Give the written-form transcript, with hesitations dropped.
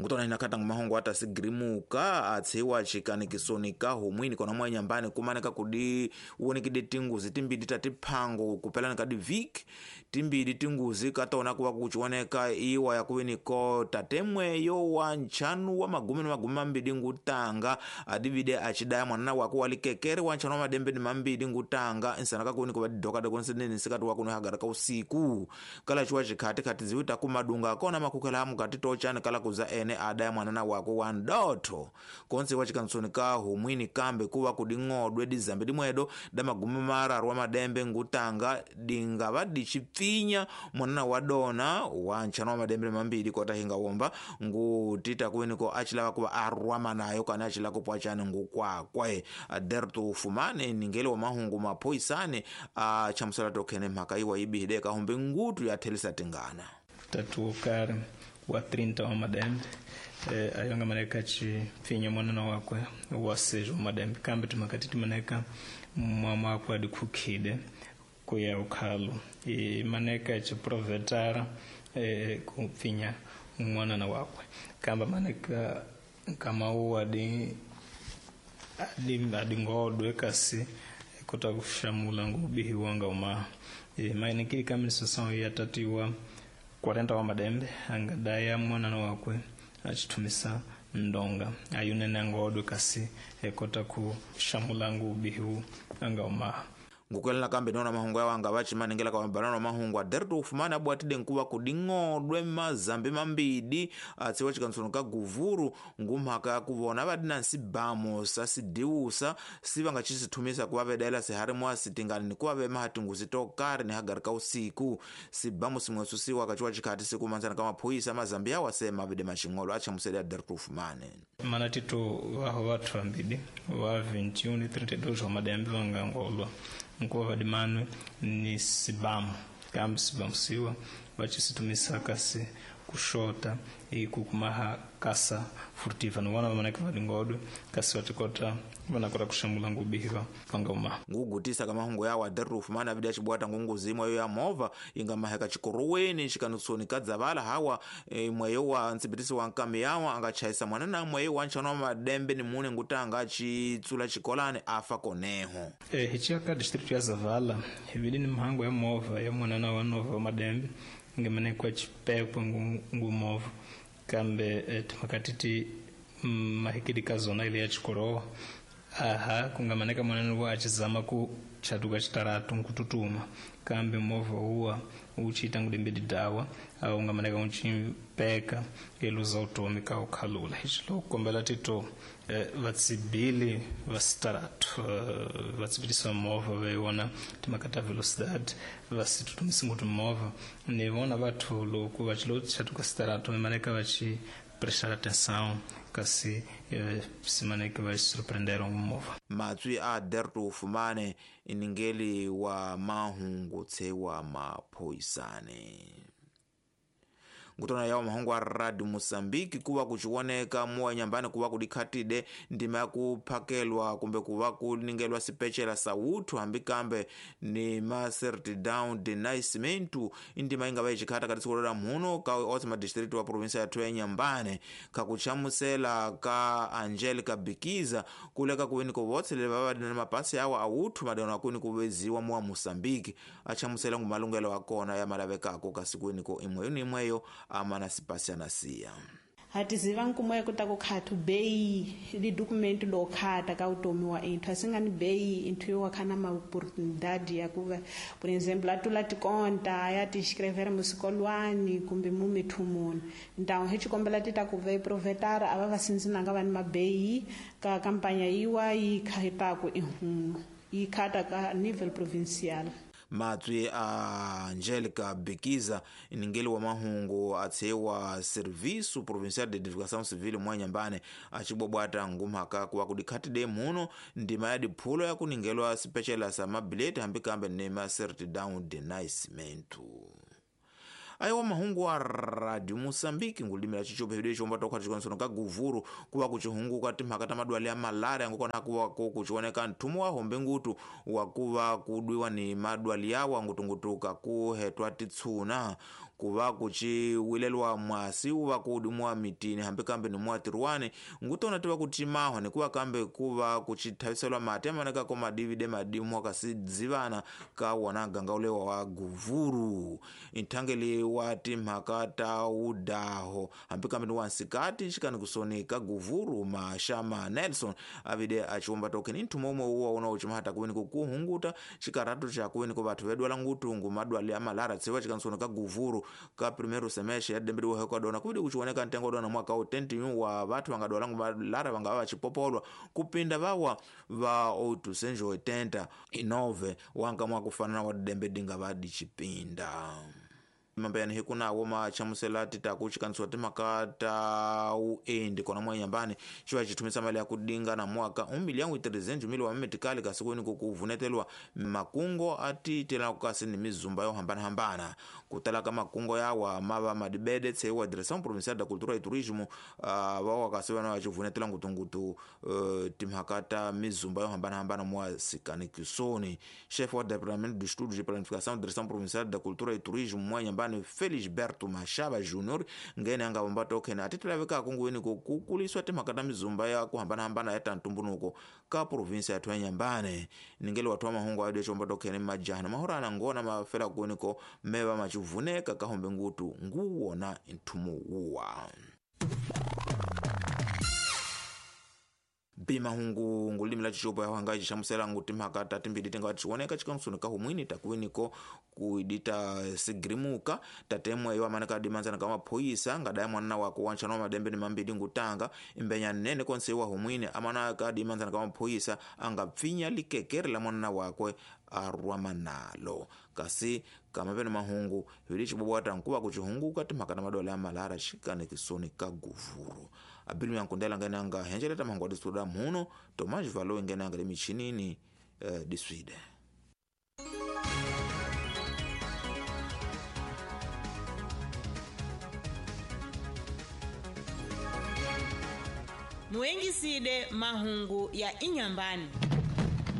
Ngutona ina khata ngumahungu ata sigirimuka atsiwa chikanikisoni ka humwini kona mwa nyambani kumaneka kudi uonekide tinguzi timbidi tatiphango kupelana kadi viki timbidi tinguzi katona kuwa kuchioneka iwa yakuwiniko tatemweyo wa nchanu wa magumi na magumi mambidi ngutanga adivide achidaya mwanana wako walikekere wa nchanu wa madembe ni mambidi ngutanga nsana kakuwiniko vadidoka konsenene sikati wakuno ka usiku kala chiwa chikhati khati ziwita kumadunga kona makukhela mukati tochani kala kuza ene adaya mwanana wako wa ndotho konse wa chikansoni ka humwini kambe kuwa kuding'odwe dizambe dimwedo da magumi mararu wa madembe ngutanga dingava dichipfinya mwanana wa dona wa nchano wa madembe mambili kota hinga womba ngutita kuwiniko achilava kuva arwama nayo kana achila kupwachani ngukwakwe aderto ufumane ningele wa mahungu maphoisane achamusela tokhene mhaka iwa ibihide kahumbe ngutu yathelisa tingana tatu kare wa 30 wa madembe ayonga maneka chipfinya mwanana wakwe wa 6 wa madembe kambe tumakati timaneka mwama wakwe adikhukhide kuya ukhalo e maneka chiprovetara kupfinya mwanana wakwe kamba maneka kama uwa adingodwe kasi kota kushamula ngubihi wanga uma e mainikili kaminisosão yatatiwa 40 wa madembe angadaya mwanana wakwe achitumisa ndonga ayunene angodwe kasi ekota kushamula ngubihi anga uma ngukwelana kambe nona mahungu yawo anga vachimaningela kawambanano na mahungu aderto ufumane abwatide nkuva kuding'odwe mazambi mambidi atsiwa chikansoni ka guvuru ngumhaka yakuvona vadina nsibamo sasidiusa sivangachisithumisa kuva vedaela sihari sitingani nikuva vemaha tinguzi tokari ni hagari ka usiku sibamo simwesu siwa kachiwa chikhati sikumanzana ka maphoyisa mazambi yawo asema avide maxing'olo achamusele aderto ufumane mana tito vaho vathu vambidi wa 21 ni 32 wa madembe vangangolwa nkuva vadimanwe ni sibamu kambe sibamu siwa vachisitumisa kasi kushota ikukumaha kasa furtiva nivona vamaneka vadingodwe kasi vatikota vanakota kuxamula ngubihiva vanga uma ngugutisa ka mahungu yawo aderuf mana avidi acibwata ngunguzi imweyo ya movha ingamaheka chikoroweni chikanutsoni kadzavala hawa imweyo wa ntsibitisi wa nkami yawa angachayisa mwanana mweyo wa nchano wa madembe ni mune ngutanga achitsula chikolani afa koneho hichiya ka district ya zavala hivili ni mhango ya movha ya mwanana wa nova wa madembe ngemanekwa chipekwe ngumovha kambe timakati ti mahikidi ka zona ile ya chikorowa aha kungamaneka mwanani wa achizama ku chatuka chitaratu nkututuma kambe movha uwa uchiita ngudembedi dawa au ungamaneka uchipeka eluza utomi ka ukhalula hichilo kukombela tito vatsibili va sitaratu vatsibitisa movha veiwona timakata velocidade vasitutumisi nguti movha ni vona vathu loku vachilo chatuka sitaratu vemaneka vachi prestar atenção kasi simaneke vai surpreender movha matswi a derto ufumane iningeli wa mahungu tsewa maphoyisane ngutona yawo mahungu a radio moçambique kuva kuchioneka muwa nyambani kuva kudikhatide ndima yakuphakelwa kumbe kuva kuningelwa sipecela sauthu hambi kambe ni ma certidão de nascimento indima ingava ichikhata kati siku la mhuno ka onse madistritu wa provinsia yathu ya nyambane kakuchamusela ka angelica bikiza kuleka kuwiniko votse leva vadina mapasi awo awuthu madano akuni kuveziwa muwa moçambique achamusela ngumalungelo akona ya malavekako kasi kuwiniko imweyo ni imweyo amana sipasianasiya hatiziva nkumo kuta ku khathu beyi li documento lo khata ka utomi wa inthu asingani beyi inthu yo wakhana ma oportunidade ya kuva por exemplo atula tikonta ya ti escrever musikolwani kumbe mumithumuni então hi xikombela ti ta ku ve provetara ava va sinzinanga va ni mabeyi ka kampanya yiwa yi khataku ihunu yi khata ka nível provincial. Matswi a Angelica Bikiza ningeli wa mahungu atshewa Serviço Provincial de Identificação Civil mwa Nyambane achibwabwata ngumhaka kuwa kudikhatide muno ndima ya diphulo ya kuningelwa sipecela sa mabileti hambi kambe nema certidão de nascimento. Ayiwa mahungu a radio Moçambique ngulimi la chichope hidio chomba tokha chikonsono ka guvuru kuwa kuchihunguka timhaka ta madwali ya malaria ngukona kuwa kuchioneka nthumu wa hombe ngutu wakuva kudwiwa ni madwali yawa ngutungutuka kuhetwa titsuna. Ku va ku ciwileliwa mwasi wu va ku dimiwa mitini hambi kambe ni muatirwani ngutona ti va ku cimahwa ni ku va kambe ku va ku cithaviseliwa mati amaneka ko madivide madimwa kasi dzivana ka wona ganga ulewa wa guvuru. Nthangeli wa timhaka ta wudaho hambi kambe ni wansikati xikani kusoni ka guvuru Mashama Nelson avide aciwomba tokeni nthumo umwe uwa una ucimahata kuweni kukuhunguta xikarhatu xa kuweni ku vathu vedwala ngutungu madwale a malara tsiva xikanisoni ka guvuru ka primeiro semestre ya dembe liwe dona kuvidi kuchioneka ntengo dona mwaka u 21 wa vathu vangadwala ngu malara vangava vachipopolwa kupinda vawa va 889 wanka mwakufanana wa dembe dinga vadichipinda. Mambeyani hikunawo machamusela titaku chikanisiwa timhaka ta uendi kona mwanyambani xiva xithumisa mali ya kudinga na mwaka 1,300,000 wa mimetikali kasi kweni kukuvunetelwa makungo atitelaku kasi ni mizumba yo hambanahambana. Kutala ka makungo yawa mava madibede tseiwa Direção Provincial da Cultura e Turismo vawa kasi vana vachivunetela ngutungutu timhaka ta mizumba yo hambanahambana mwa sikanikisoni. Chefe wa Departamento de Estudos de Planificação Direção Provincial da Cultura e Turismo mwa nyambani Felisberto Mashaba Junior ngene anga vomba token atitilavekako nguweni kukuliswa timhaka ta mizumba ya kuhambanahambana ya tantumbunuko ka provinsia yathu ya Nyambane. Ningeli wathu wa mahungu ayo chomba token majana mahorana ngona mafela kuweniko meva machivuneka kahombe ngutu nguwona nthumu wuwa. Bimahungu ngulimi la chichopo ya wangaji chamusela nguti mhaka tatimbidi tenga chioneka chikansuni ka humwini takuweniko kuidita sigrimuka tatemwe yo amaneka dimanzana kama phoyisa ngadaya mwana wako wanchana wa madembe ni mambidi ngutanga imbenya nene konse wa humwini amana ka dimanzana kama phoyisa angapfinya likekere la mwana wakwe arwama nalo kasi kamapeno mahungu hili chibobwata nkuva kuchihunguka timhaka na madola ya malara xikane kisoni ka guvuru. Abilu yankundela ngene anga henjeleta mahungu adisuda muno Tomás Valo ngene anga limichinini diswide. Muengiside mahungu ya inyambani.